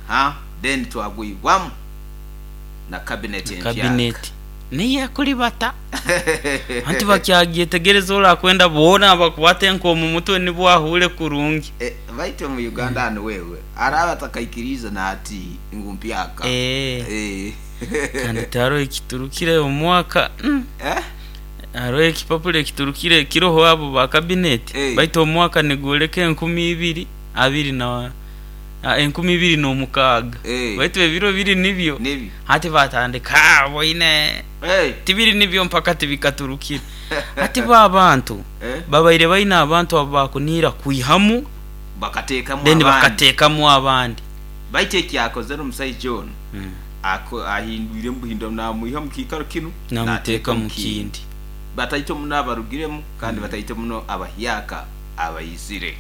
Aha then twagwibwamu na cabinet Na empyaka. cabinet niyo ekuribata. Anti bakyagyetegereza orakwenda boona bakwate nk'omu mutwe nibwo ahuure kurungi. Eh, baitu omu Uganda hanu wewe araba atakaikiriize na hati ngu mpyaka. Eh. Eh. Kandi tihariho ekiturukire omu mwaka. Mm. Eh? Hariho ekipapura ekiturukire kiroho abo ba cabinet Eh. baitu omwaka nigworeka 2026 Eh. baitu ebiro biri nibyo Nibyo. hati batandika ah, boine Eh. tibiri nibyo mpaka tibikaturukire. Hati bo abantu Eh. babaire baine abantu abakuniira kwihamu Bakateekamu then abandi. bakateekamu abandi. Baitu ekyakozere omusaija onu ako ahindwiremu buhindura namwiha omu kiikaro kinu Namuteeka nateeka omu omu kindi. kindi. Bataito muno abarugiremu kandi bataito muno abahyaka abaizire.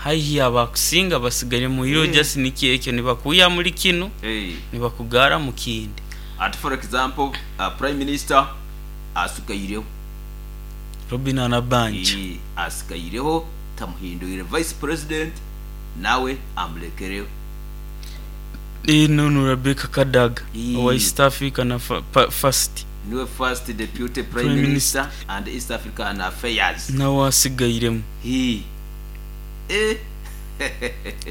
Haihi abakusinga basigaire mu iro Eh. just nikyo ekyo nibakwiha muri kinu Eh. nibakugara mu kindi. Ati for example, Prime Minister asigaireho. Robinah Nabbanja. Eh, asigaireho tamuhindwire. Vice President nawe amulekereho. Eh, nono Rebecca Kadaga Eh. owa East Africa na first. Niwe first Deputy Prime Prime Minister and East African Affairs. Nawe asigairemu. Hii. Eh.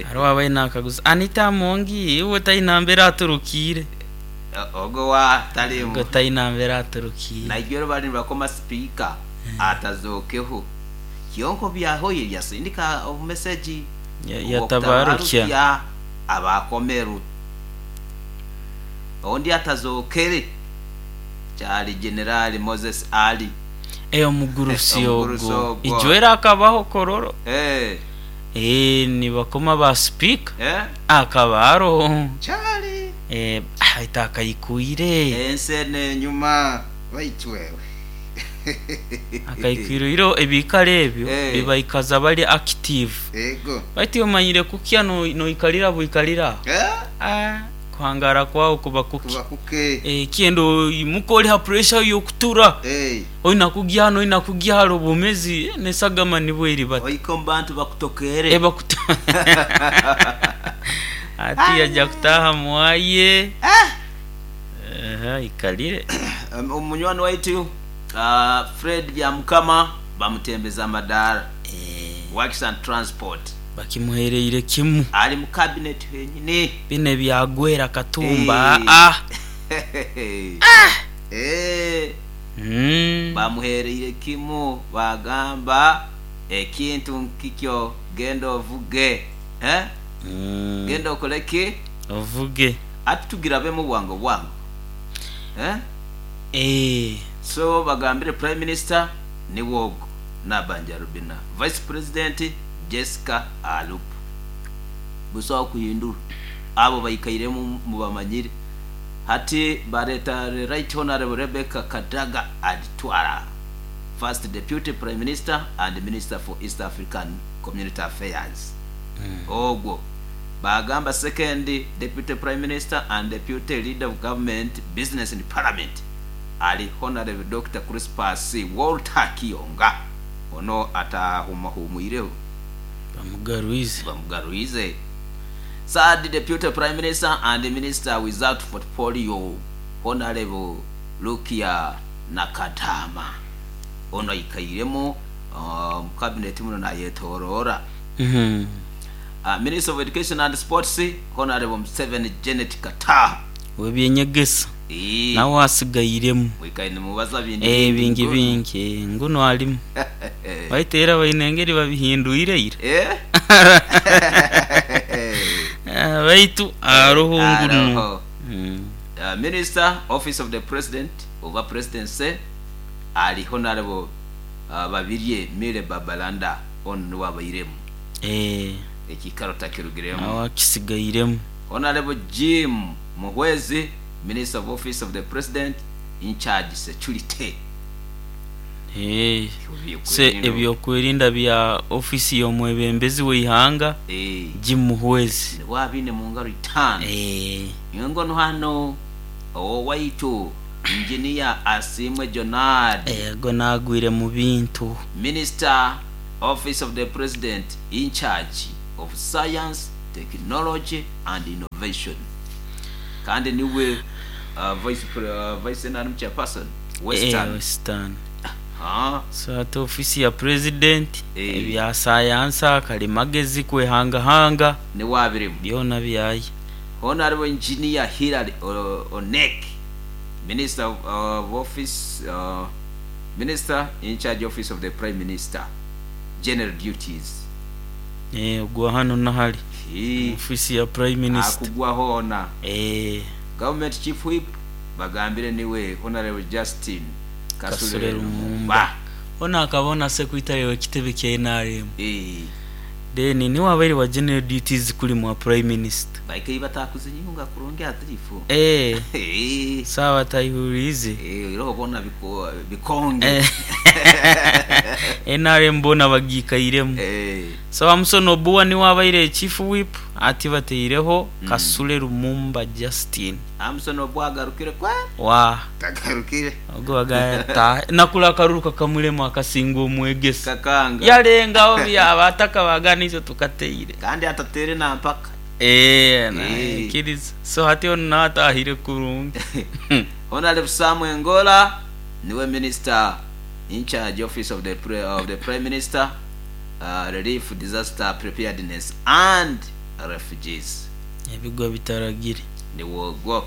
Hariho abaine nakaguza Anita Amongi iwe taine mbere aturukiire. Ogwo wa tarimu. Ogwo taine mbere aturukiire. Naigwero bari nibakoma speaker atazookeho. Kyonka obyahoire yasindika obumesegi Yatabarukya. obw'okutabarukya abakomerwe. Ondi atazookere kyari Generali Moses Ali. Eh, omugurusi Omugurusi ogwo. ogwo. Ijwera akabaho Kololo. Eh. Eh, nibakoma ba speaker. Eh? Akaba aroho. Kyari. Eh, aita akaikwire. Ensi eno enyuma baitu wewe. Akaikwire iro ebikaro ebyo Eh. bibaikaza bari active. Ego. Baitu omanyire kukya noikarira bwikarira. Eh? Ah, kuhangara kwawe kuba kuki. Kuba kuke. Eh, kyenda oimuka ori ha pressure y'okutura. Eh. Oina kugya hano oina kugya haro obwomezi eh, nesagama nibwo eri bati. Oika omu bantu bakutokere. Eh, bakuto. Ati yaja kutaha mwaye. Eh. Ikalire. Omunywani waitu Fred Byamukama bamutembeza amadaara. Eh. Works and Transport. Bakimuhereire kimu. Ali mu cabinet henyini. Bino ebyagwera Katumba. Eh. Ah. Ah. Eh. Mm. Bamuhereire kimu bagamba ekintu nkikyo genda ovuge. Eh? Mm. Genda okole ki? Ovuge. Ati tugirabemu bwangu bwangu. Eh? Eh. So bagambire Prime Minister ni wogo Nabbanja Robinah, Vice President Jessica Alup. Busaho kuhindura abo baikairemu mubamanyire. Hati bareta the Right Honorable Rebecca Kadaga Alitwala, First Deputy Prime Minister and Minister for East African Community Affairs. Ogwo bagamba Second Deputy Prime Minister and Deputy Leader of Government Business in Parliament ari Honorable Dokita Crispus Walter Kiyonga. Ono atahumahumwireho. Bamugarwize. Bamugarwize. Third Deputy Prime Minister and Minister without portfolio Honorable Rukia Nakadama. Ono aikairemu omu cabinet muno nayetorora. Minister of Education and Sports Honorable Museveni Janet Kataha. Ow'ebyenyegesa Eeh. nawe asigairemu. Mwikaire nimubaza bindi Eh, bingi bingi nguno. bingi eh, nguno arimu. Baitu era baine engeri babihindwire ira. Eh? Ah, baitu aroho nguno. Aroho. Mm. Minister, Office of the President, oba Presidency, ari Honorable Babirye Milly Babalanda, onu niwe abairemu. Eh. Ekiikaro takirugiremu. Nawe akisigairemu. Honorable Jim Muhwezi, Minister of Office of the President, in charge Security. Eh. Se ebyokwerinda bya office y'omwebembezi w'eihanga Eh. Jim Muhwezi. Niwe abiine mu ngaro itaano. Eh. Nyowe hanu ow'owaitu Engineer Asiimwe Jonard. Ego nagwire mu bintu. Minister, Office of the President in charge of Science, Technology and Innovation kandi niwe Vice Vice NRM Chairperson Western. Western. So hati ofiisi ya Purezidenti, ebya sayansa, kalimagezi, kwehangahanga. Niwe abirimu. Byona byaye. Hoona hariho Engineer Hillary Onek, Minister of Office, Minister in charge Office of the Prime Minister, General Duties. Ogwa hanu na hare omu ofiisi ya Prime Minister. Akugwa hoona. Government Chief Whip bagambire niwe Honourable Justin Kasule Kasule Lumumba. Lumumba. Onu akaba na Secretary w'ekitebe kya nrm. Then niwe abaire wa General Duties kuri mwa Prime Minister. Baikaire batakuzinyunga kurungi atirifu. Saaba atayihuriize. Iroho boona bikonge. Nrm boona bagiikairemu. So Hamson Obua niwe abaire Chief Whip ati bataireho Kasule Lumumba Justine. Hamson Obua agarukire kweri? Waa. Tagarukire. Ogwo bagaya ata nakura akaruru kakamurema akasinga omwegesa. Kakanga. Yarengaho byaba ataka bagana itwe tukateire. Kandi atateire na mpaka. Eeh naikiriza. So hati onu nawe atahire kurungi. Honarable Sam Engola niwe Minister Incharge Office of the of the Prime Minister, Relief, Disaster Preparedness and Refugees. Ebigwa bitaragire. Niwe ogwo.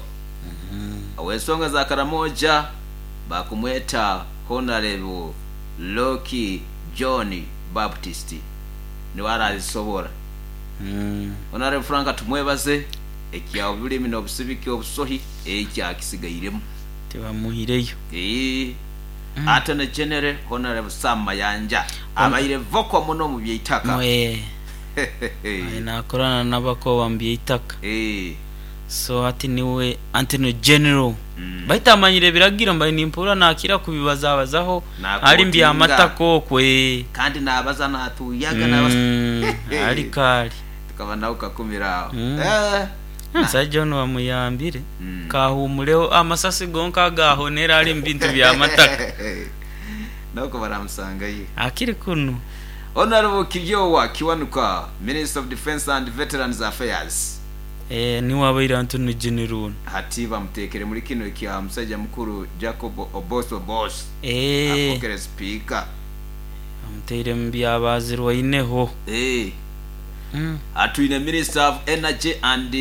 Ow'ensonga za Karamoja baakumweta Honarable Loki John Baptist niwe araazisobora. Honarable Frank Tumwebaze ekya obulimi n'obusibiki obusohi ekyo akisigairemu. Tibamuhireyo. Eeh. Attorney General Honarable Sam Mayanja abaire vocal muno mu by'eitaka. Eeh. Aye naakorana n'abakoba mu by'eitaka. So hati niwe Attorney General. Baitu amanyire ebiragiro mbaire nimpurira naakira kubibazabazaho ahari mu by'amataka okwo. Kandi naabaza naatuuyaga naabaza. Ari kaari. Tukaba nawe kakumira aho. Omusaija onu bamuyambire kaahumureho amasasi gonka agaahonera ari mu bintu by'amataka. N'okwo baramusangayo. Akiri kunu. Honourable Kiryowa Kiwanuka, Minister of Defence and Veterans Affairs. Niwe abaire Antony General onu. Hati bamuteekire muri kinu ekya musaija mukuru Jacob Oboth Oboth afookere Sipiika. Bamuteire mu bya baazirwaineho. Atwine Minister of Energy and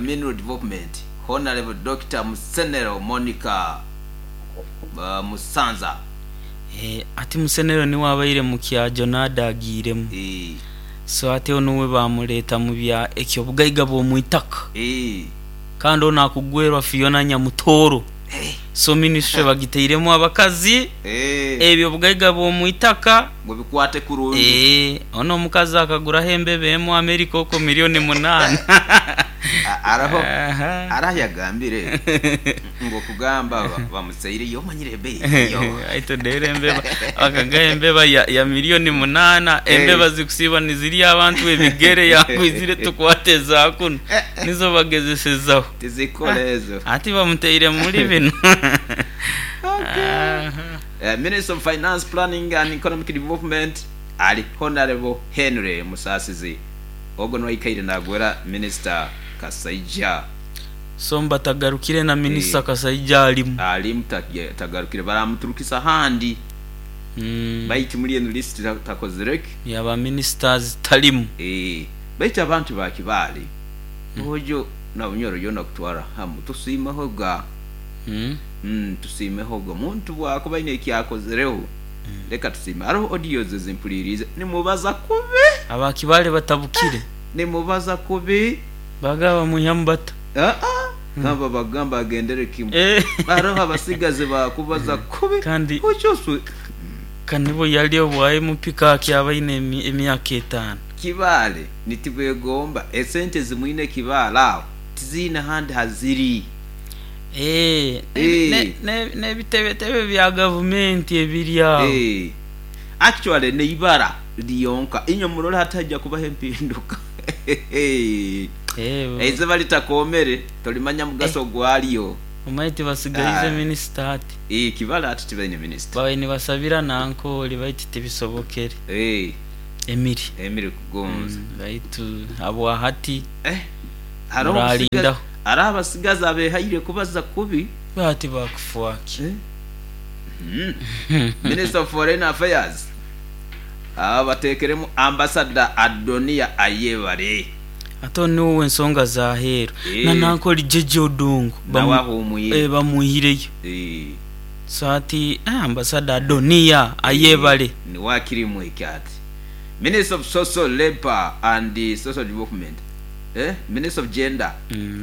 Mineral Development, Honourable Dokita Musenero Monica Musanza. Hati Musenero niwe abaire mu kya Jonada agiiremu. So hati onu we baamureeta mu bya eky'obugaiga bw'omu itaka. Kandi onu akugwerwa Fiona Nyamutooro. So minisitule bagitairemu abakazi, eby'obugaiga bw'omu itaka. Ngu bikwate kurungi. Onu omukazi akaguraho embeba emwe America okwo milioni munaana. Hariho ahu yagambire ngu okugamba bamuseireyo omanyire ebeeyi eriyo. Aye todeera embeba, bakagaha embeba ya milioni munaana, embeba zikusiiba nizirya abantu ebigere yakwizire tukwate eza kunu nizo bagezesezaho. Tizikora ezo. Hati bamuteire muri binu. Minister of Finance, Planning and Economic Development ari Honarebo Henry Musasizi. Ogwo niwe aikaire naagwera Minisita Kasaija. So mba tagarukire na Minisita Kasaija arimu? Arimu tagarukire baramuturukisa ahandi baitu muri enu lisiti takozire ki? Ya ba Minisitazi tarimu. Baitu abantu ba Kibaale ojo na Bunyoro yoona kutwara hamu tusiimeho ga. Tusiimeho ga omuntu bwakuba aine eki akozireho Leka tusiime. Hariho audios ezi mpuriiriize nimubaza kubi. Aba Kibaale batabukire. Nimubaza kubi. Bagaba bamwihamu bata? Aa aba bagamba agendere kimwe. Hariho abasigazi bakubaza kubi. Kandi ka nibo yari obwa MP ka akyaba aine emyaka etaano. Kibaale nitibwegomba esente ezimwine Kibaale aho tiziine handi haziri. Eeh, n'ebitebetebe bya gavumenti ebiri agho. Eeh, actually n'eibara lyonka. Inywe murole hati haija kubaho empinduka. Eiziba litakoomere tolimanya mugaso gwaryo. Omanye tibasigaize minisita hati. Eeh, Kibale hati tibaine minisita. Babaire nibasabira Nankore baitu tibisobokere. Eeh. Emiri. Emiri Kugonza. Baitu habwahati Eh, hariho omusigazi murarindaho. hariho abasigazi abehaire kubaza kubi. Bahati bakufuaki. Eh? Minister of Foreign Affairs aba bateekeremu Ambassador Adonia Ayebare. Ate onu niwe ow'ensonga z'aheeru. Na nanka ori Jeje Odongo Nawe ahumwire. bamwihireyo. So hati Ambassador Adonia Ayebare. Niwe akirimu ekyo ati. Minister of Social Labour and Social Development, Minister of Gender,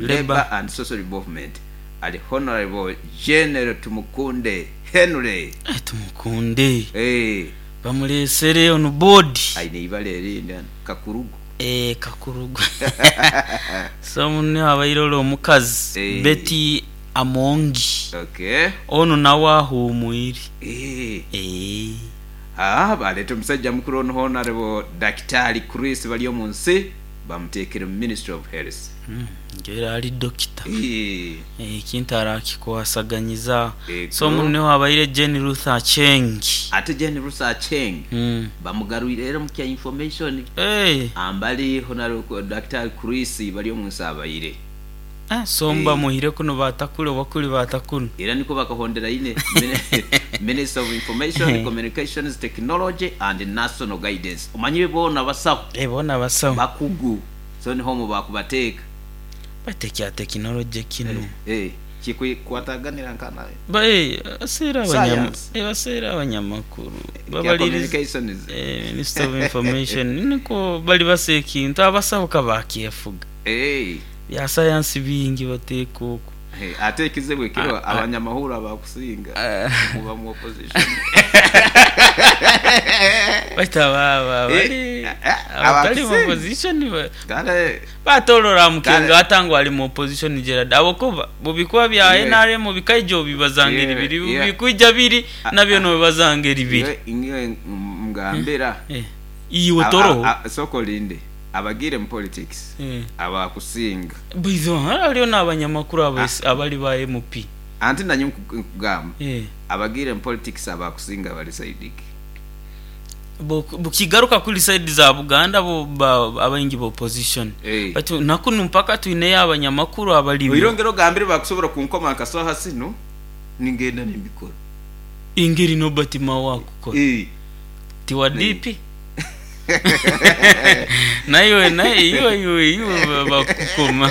Labour and Social Development ari Honourable General Tumukunde Henry. Tumukunde bamureesere onu board. Aine eibara erindi hanu, Kakurugu. Eeh Kakurugu. So niho abaire ore omukazi Betty Amongi. Onu nawe ahuumwire. Eeh. Haa baleeta omusaija mukuru onu Honarebo Dakitaali Chris Baryomunsi bamuteekire mu Ministry of Health. Ngira ari dokita. Ekintu arakikwasaganyiza. So omu niho habaire Jane Ruth Aceng. Ate Jane Ruth Aceng bamugarwire era omu kya Information ambali Honarebo Dakitaali Chris Baryomunsi abaire. So mbamuhire kunu baata kuri oba kuri baata kunu. Era nikwo bakahondera ine Minister of Information, Communications, Technology and National Guidance. Omanyire boona basaho. Boona basaho. Bakugu. So niho omwo baakubateeka. Baitu ekya tekinologye kinu. Kikukwataganira nka na Science. Baseera abanyamakuru. Ekya Communications. Minister of Information nikwo bari basa ekintu abasaho ka baakyefuga. Bya sayansi bingi bateeka okwo. Ate ekizibu ekiriho abanyamahurire abakusinga muba mu opposition. Baitu abo abari abatari mu opposition batorora Mukenga ata ngu ari mu opposition Gerald ahabw'okuba bubikuba bya nrm bikaija obibaza ngeri biri bikwija biri nabyo nobibaza ngeri biri. Nyowe ngambira. Iwe toroho. Sooka orinde. Abagiire mu politics abakusinga. Baitu hariho n'abanyamakuru abari ba MP. Anti nanye nkugamba abagiire mu politics abakusinga bari side ki? Bukigaruka kuri side za Buganda bo abaingi ba opposition. Baitu nakunu mpaka twineyo abanyamakuru abarimu. Oirongere ogambire bakusobora kunkoma nka saha zinu ningenda nimbikora. Engeri Norbert Mao akukora. Ti wa DP? Naiwe naiwe iwe iwe bakukoma.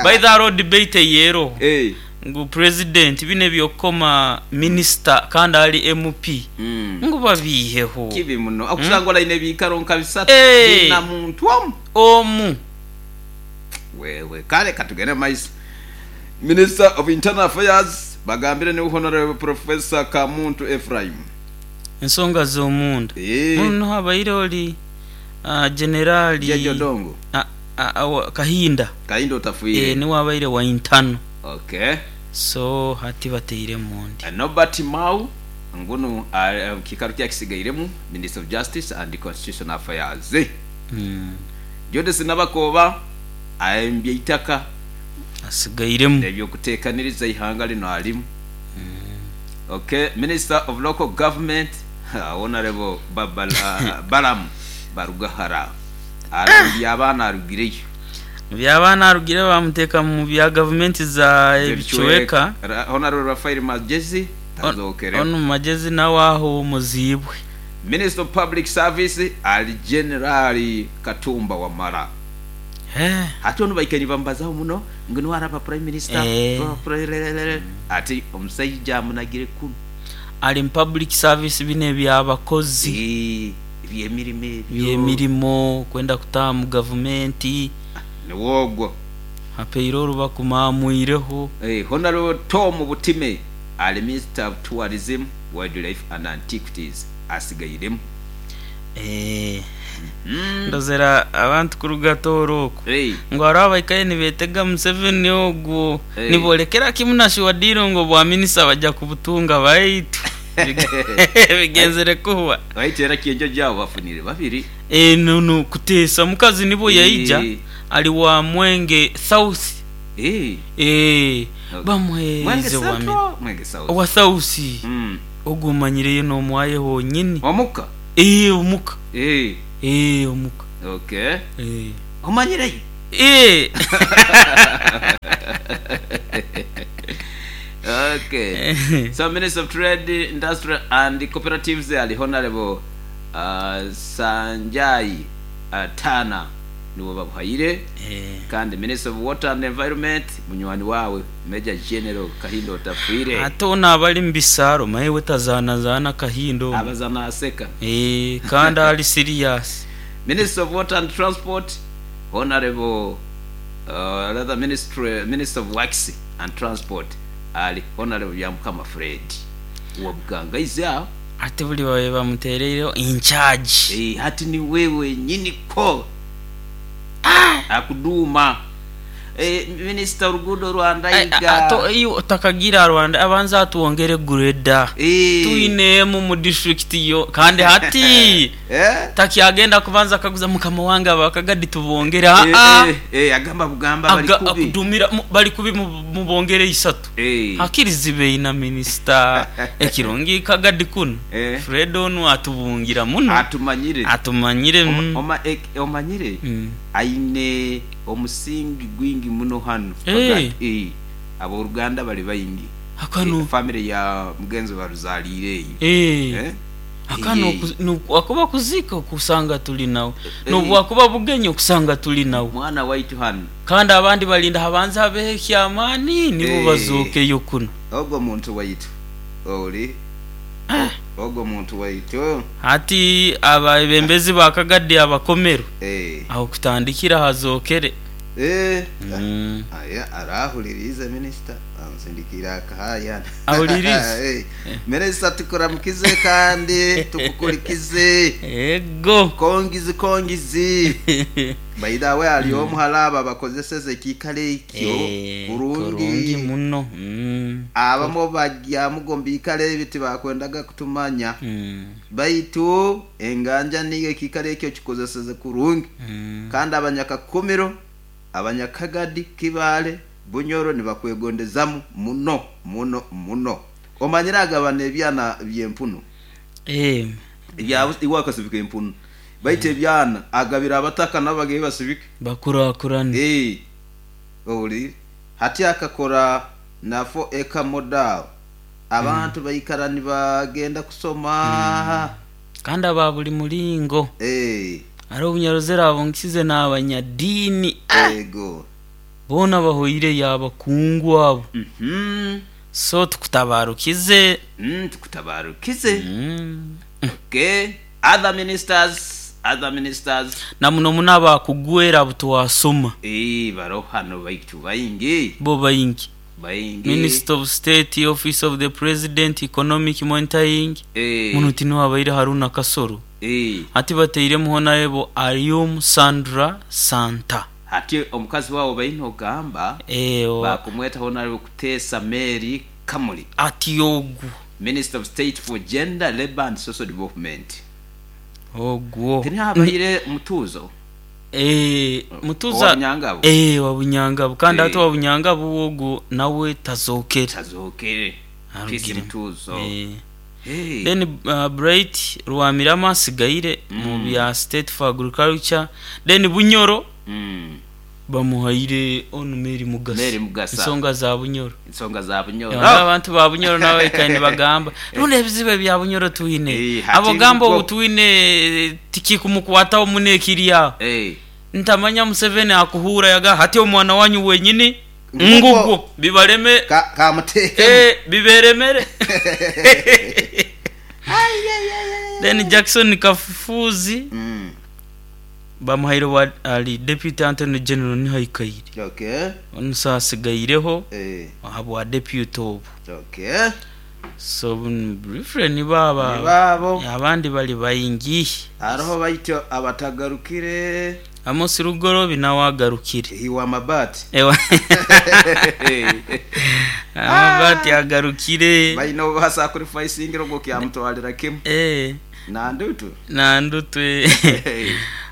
By the hariho debate eyeroho ngu president binu ebyokukoma minister kandi ari MP ngu babiiheho. Kibi muno okusanga ori aine ebiikaro nka bisatu bina muntu omu. Omu. Wewe kale katugende omu maiso. Minister of Internal Affairs bagambire niwe Honourable Professor Kamuntu Ephraim. Ensonga z'omunda. Mbwenu noha abaire ori Generali Jeje Odongo. Kahinda. Kahinda otafwire. Niwe abaire wa Internal. Okay. So hati batairemu ondi. Norbert Mao ngunu kiikaro kye akisigairemu Minister of Justice and Constitutional Affairs. Judith Nabakooba ayembye eitaka. Asigairemu. Eby'okuteekaniriza eihanga lino arimu. Ok, Minister of Local Government Honourable Balaam Barugahara ari omu by'abaana arugireyo. Mu by'abaana arugireyo baamuteeka mu bya gavumenti za ebicweka. Honourable Raphael Magyezi tazookereho. Hon Magyezi nawe ahuumuziibwe. Minister of Public Service ari General Katumba Wamala. Hati onu baikaire nibamubazaho muno ngu niwe araba Prime Minister, ati omusaija amunagire kunu. Ari mu Public Service binu eby'abakozi. Eby'emirimo ebyo. Eby'emirimo, kwenda kutaaha mu gavumenti. Niwe ogwo. Apaire oru bakumaamwireho. Honourable Tom Butime ari Minister of Tourism, Wildlife and Antiquities asigairemu. Ndozera abantu kuruga Tooro okwo ngu hariho abaikaire nibeetega Museveni ogwo niborekera kimwe na shuwa diiro ngu obwa minisita baija kubutunga baitu bigenzire kuhwa. Baitu era Kyenjojo abo bafunire babiri. Nunu kuteesa mukazi nibwo yaija ari wa Mwenge South. Bamuheerize owa South. Ogwo omanyireyo n'omwaye honyini. Omuka? Ee, omuka. Eeh omuka. Okay. Eeh. Omanyireyo? Eeh. Okay. So Minister of Trade, Industry and Cooperatives ali Honourable uh, Sanjay uh, Tana niwe babuhaire kandi Minister of Water and Environment munywani waawe Major General Kahinda Otafiire. Ate onu abali mu bisaaro manya we tazaanazaana Kahinda onu. Abaza naaseka. Eeh kandi ali serious. Minister of Water and Transport Honourable uh, rather Ministry, Minister of Works and Transport ali Honourable Byamukama Fred Wabugangaizi aho. Ate buri babaire bamutereireho in charge. Eeh hati niwe wenyini kwo akuduuma. Eh, Minisita oruguudo rwa Ndaiga. Ate iwe otakagiire aha rwa Ndaiga banza atwongere grader. Eh. Twine emu mu district yo kandi hati Eh? takyagenda kubanza akaguza mukama wange aba Kagadi tubongere Eh, aa. eh, eh, agamba bugamba bari Aga kubi. akudumira mu- bari kubi mu- mubongere isatu. Eh. Hakiri zibe ina minisita ekirungi Kagadi kunu. Eh. Fred onu atubungira muno. Atumanyire. Atumanyire. Oma, mm. oma, ek, omanyire Mm. aine omusingi gwingi muno hanu. Eh. Kagadi. Eh. Ab'oruganda bari baingi. Akano. Eh, family ya mugenzi baruzaliire eyo. Eh. Eh? Aka Eh. nobu akuziika okusanga turi nawe, Eh. nobu bwakuba bugenyi okusanga turi nawe. Mwana waitu hanu. Kandi abandi barinda habanze habeho eky'amaani nibo Eh. bazookeyo kunu. Ogwo muntu waitu ori ogwo muntu waitu. Hati abebembezi ba Kagadi abakomerwe Eh. aho kutandikira hazookere. Eh. Mm. Aya arahuririize minisita ansindikiire akahayana. Ahuririize? Eh. Minisita tukuramukize kandi tukukurikize. Ego. Kongizi kongizi. By the way ari omuhara aba bakozeseze ekiikaro ekyo Eh, kurungi kurungi. muno. Mm. Abamwe baryamuga omu biikaro ebi tibakwendaga kutumanya. Mm. Baitu enganja niyo ekiikaro ekyo kikozeseze kurungi. Mm. Kandi abanyakakumiro, abanyakagadi, Kibaale, Bunyoro nibakwegondezamu muno muno muno. Omanyire agabana ebyana by'empunu. Eh. Ebya iwe akasibika empunu. Baitu ebyana agabira abataka n'abagehi basibike. Bakurakurane. Eh. Ohuriire? Hati akakora na 4 acre model. Abantu baikara nibagenda kusoma. Kandi aba buri muringo. Eh. Hariho obunyaruzire abo nkize n'abanyadiini. Ego. Boona bahoireyo abakungu abo. Mhm. So tukutabarukize. Tukutabarukize. Mm. Okay. Other ministers, other ministers. Na muno muno abakugwera abu twasoma. Eh, baroho hanu baitu baingi. Bo baingi. Baingi. Minister of State, Office of the President, Economic Monitoring. Eh. Muno tiniwe abaire Haruna Kasoro. Eh. Hati batairemu Honourable Arium Sandra Santa. Hati omukazi waabo baine ogamba Eh, o- baakumweta Honourable Kuteesa Mary Kamuli. Ati ogwo. Minister of State for Gender, Labour and Social Development. Ogwo. Tiniho abaire Mutuuzo? Eh, Mutuuzo. Owa Bunyangabu? Eh, owa Bunyangabu. Kandi Eh. hati owa Bunyangabu ogwo nawe tazookere. Tazookere. Peace Arugiremu. Mutuuzo. Eh. Hey. Then Bright Rwamirama asigaire mu bya State for Agriculture. Then Bunyoro bamuhaire onu Mary Mugasa. Mary Mugasa. Ensonga za Bunyoro. Ensonga za Bunyoro. Yonka abantu ba Bunyoro nabo baikaire nibagamba rundi ebizibu ebya Bunyoro twine. Eh, hati Abo gamba nibwo. obu twine tikikumukwataho muno ekiri aho. Eh. Ntamanya Museveni akuhuura yaga hati omwana wanyu wenyini Ngugwo. ngugwo bibareme Ka kamuteekemu. Eh, biberemere. Then Jackson Kafufuzi bamuhaire wa ari Deputy Attorney General niho aikaire. Okay. Onu so asigaireho Eh. ahabwa deputy obu. Okay. So briefly nibo aba Nibo abo. abandi bari baingi. Hariho baityo abatagarukire. Amos Rugorobi nawe agarukire. Iwe amabaati. Ewa. Amabaati agarukire. Baine obu basacrificingire ogwo kyamutwarira kimwe. Eh. Nandutu. Nandutu.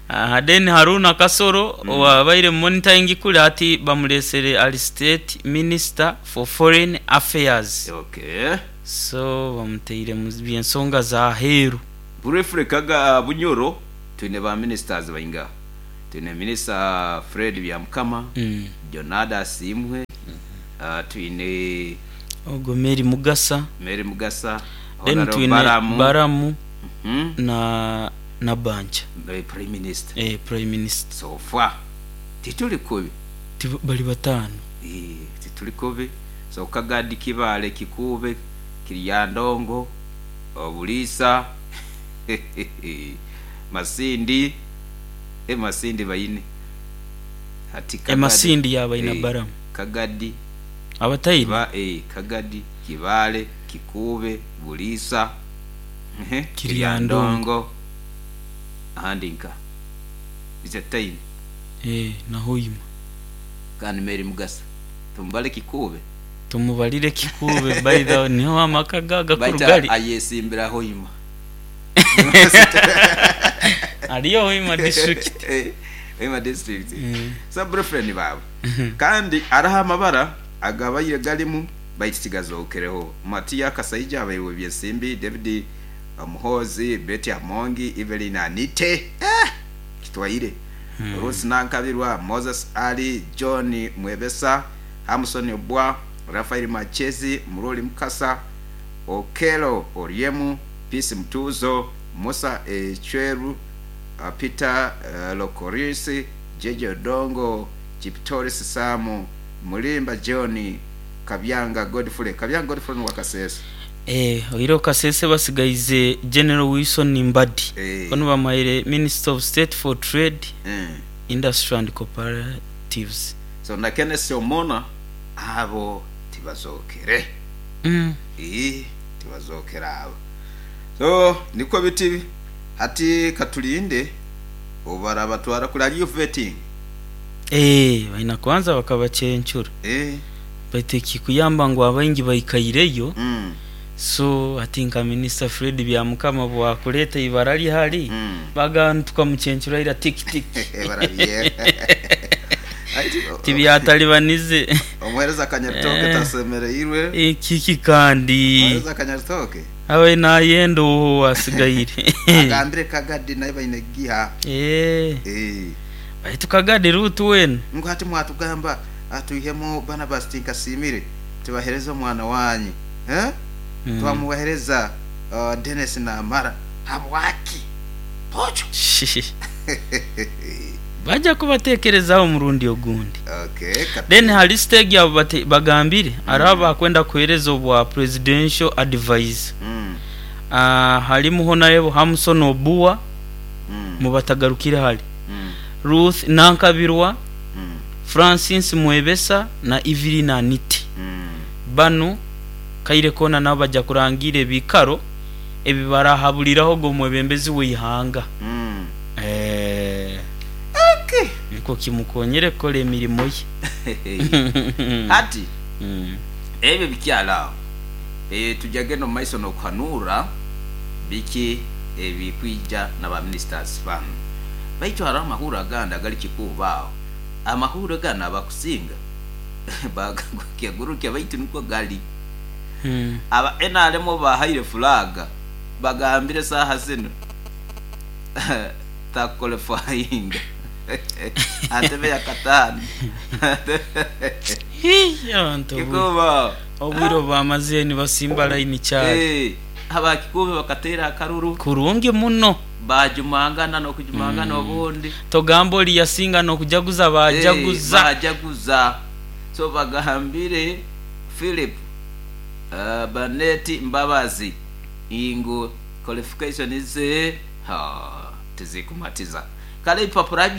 Aha then Haruna Kasoro owabaire monitoring kuri hati bamuresere ari state minister for foreign affairs. Okay. So bamuteire mu by'ensonga za heru. Briefly Kaga Bunyoro. Twine ba ministers baingaha? Twine Minisita Fred Byamukama, Jonada Asiimwe, twine. Ogwo Mary Mugasa. Mary Mugasa, Then Honourable twine Balamu. Balamu na Nabbanja. Prime Minister. Eh, Prime Minister. So far tituli kubi. Ti bali bataano. Eh, tituli kubi. So Kagadi, Kibaale, Kikuube, Kiryandongo, Obuliisa, Masindi, eh Masindi baine. Hati E Kagadi. Masindi yaabaine Eh, Balamu. Kagadi. Abataine? Kiba, eh, Kagadi, Kibaale, Kikuube, Buliisa, ehe, Kiryandongo. Kiryandongo, ahandi nka ize taine. Eh, na Hoima. Kandi Mary Mugasa. Tumubale Kikuube? Tumubalire Kikuube by the way niho amaka ge agakuru Baitu gari. ayesimbira Hoima. Ariyo Hoima district. Eh, Hoima district. So boyfriend baawe. Kandi hariho amabara agabaire garimu baitu tigazookereho. Matia Kasaija abaire w'ebyensimbi, David Muhoozi, Betty Amongi, Evelyn Anite, eh, kitwaire, Ruth Nankabirwa, Moses Ali, John Mwebesa, Hamson Obwa, Raphael Machezi, Muroli Mukasa, Okello Oryemu, Peace Mutuuzo, Musa Ecweru, Peter Lokoris, Jeje Odongo, Chiptoris Sam, Mulimba John, Kabyanga Godfrey. Kabyanga Godfrey n'owa Kasese. Eh, oihireho Kasese basigaize General Wilson Mbadi. Eh. Onu bamuhaire Minister of State for Trade, Mm. Industry and Cooperatives. So na Kenneth Omona abo tibazookere. Mm. Ii, tibazookere abo. So nikwo biti hati katurinde obarabatwara kuri hariyo vetting. Eh, baina kubanza bakabacencura. Eh. Baitu ekikuyamba ngu abaingi baikaireyo. Mm. So hati nka Minisita Fred Byamukama bwakureeta eibara rye hari, Mm. bagamba ngu tukamucencura ira tiki tiki. Barabye. Tibyatalibanize. Omuheereza Kanyaritoke Eh. tasemereirwe. Ekiki kandi. Omuheereza Kanyaritoke. Abe nayenda owo owasigaire. Agambire Kagadi naye baine kugiha. Eh. Eh. Baitu Kagadi Ruth weena. Ngu hati mwatugamba twihemu Barnabas Tinkasiimire tubahereze omwana wanyu. Eh? Mm. Twamubahereza Denis Namara. Habwaki? Pocho. Baja kubatekerezaho omurundi ogundi. Okay. Then hari stage abo bagambire hariho abakwenda kuhereza obwa presidential advisor. Ah, harimu Honorable Hamson Obua mubatagarukire hare. Ruth Nankabirwa, Francis Mwebesa na Evelyn Anite. Banu kaire koona nabo baja kurangiira ebiikaro ebi barahaburiraho ogwo mwebembezi w'eihanga. Eh. Okay. Nikwo kimukonyere kukora emirimo ye. Hati ebyo bikyari aho eh, tujya omu maiso n'okuhanuura biki ebikwija na ba ministers banu. Baitu hariho amahurre agandi agari kikuuba aho. Amahurre ganu abakusinga bagagurukya baitu nikwo gari. Aba NRM obu bahaire flag bagambire saaha zinu takukolifayinga aha ntebe ya kataano. Hii, abantu obwire Kikuubo. obwire obu bamazire nibasimba layini kyari. Eh, aba Kikuubo bakateera akaruru. Kurungi muno. Baajumangana n'okujumangana obundi. Togamba ori yasinga n'okujaguza baajaguza. Eh, baajaguza. So bagambire Philip Barnett Mbabazi ngu qualification ze ha, tizikumatiza. Kale ebipapura